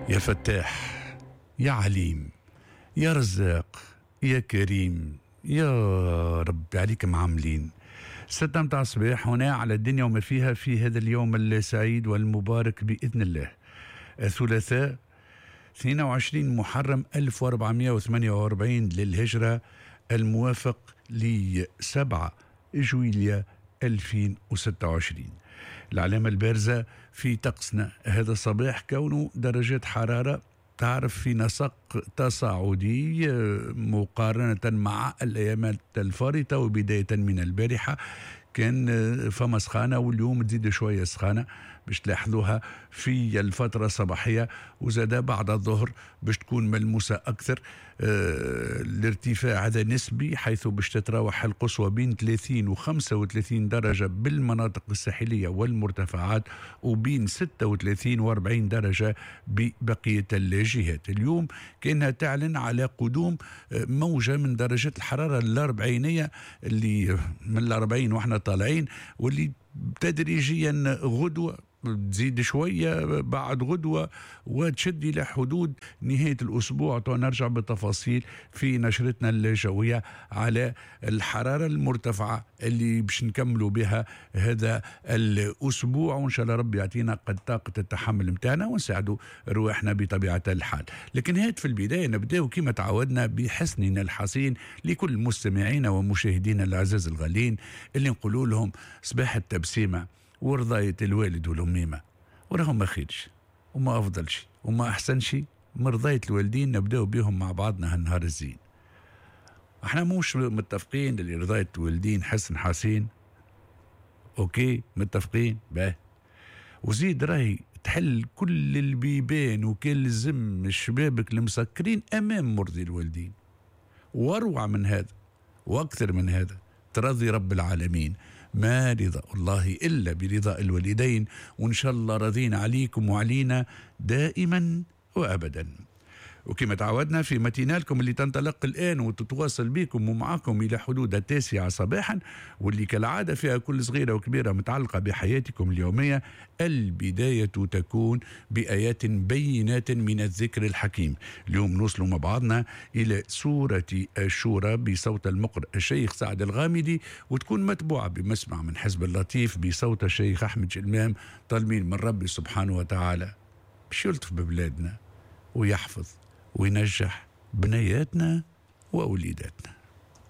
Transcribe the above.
يا فتاح، يا عليم، يا رزاق، يا كريم، يا رب عليك معاملين. 6 متاع الصباح هنا على الدنيا وما فيها في هذا اليوم السعيد والمبارك بإذن الله، الثلاثاء 22 محرم 1448 للهجرة، الموافق ل 7 جويليا 2026. العلامة البارزة في طقسنا هذا الصباح كونه درجات حرارة تعرف في نسق تصاعدي مقارنة مع الأيامات الفارطة، وبداية من البارحة كان فما سخانة، واليوم تزيد شوية سخانة باش تلاحظوها في الفترة الصباحية، وزاد بعد الظهر باش تكون ملموسة أكثر. الارتفاع هذا نسبي، حيث باش تتراوح القصوى بين 30 و 35 درجة بالمناطق الساحلية والمرتفعات، وبين 36 و 40 درجة ببقية الجهات. اليوم كأنها تعلن على قدوم موجة من درجات الحرارة الأربعينية، اللي من الأربعين وإحنا طالعين، واللي تدريجيا غدوة تزيد شوية بعد غدوة وتشد إلى حدود نهاية الأسبوع. نرجع بالتفاصيل في نشرتنا الجوية على الحرارة المرتفعة اللي باش نكملوا بها هذا الأسبوع، وإن شاء الله ربي يعطينا قد طاقة التحمل متاعنا ونساعدوا رواحنا بطبيعة الحال. لكن هات في البداية نبدأ كما تعودنا بحسننا الحصين لكل مستمعينا ومشاهدينا الأعزاز الغالين، اللي نقولوا لهم صباح التبسيمة ورضاية الوالد والأميمة، وراهم ما خيرش وما أفضل شيء وما أحسن شيء مرضاية الوالدين. نبدأ بهم مع بعضنا هالنهار الزين. احنا مش متفقين اللي رضاية الوالدين حسن حسين، okay متفقين باه، وزيد راهي تحل كل البيبان وكل زم الشبابك المسكرين أمام مرضي الوالدين. واروع من هذا وأكثر من هذا ترضي رب العالمين، ما رضا الله إلا برضاء الوالدين، وإن شاء الله رضينا عليكم وعلينا دائما وأبدا. وكما تعودنا في متينالكم اللي تنطلق الآن وتتواصل بكم ومعكم إلى حدود 9 صباحا، واللي كالعادة فيها كل صغيرة وكبيرة متعلقة بحياتكم اليومية. البداية تكون بآيات بينات من الذكر الحكيم. اليوم نوصل مع بعضنا إلى سورة الشورى بصوت المقرئ الشيخ سعد الغامدي، وتكون متبوعة بمسمع من حزب اللطيف بصوت الشيخ أحمد جلمام، طالبين من ربي سبحانه وتعالى باش يلطف ببلادنا ويحفظ وينجح بنياتنا ووليداتنا.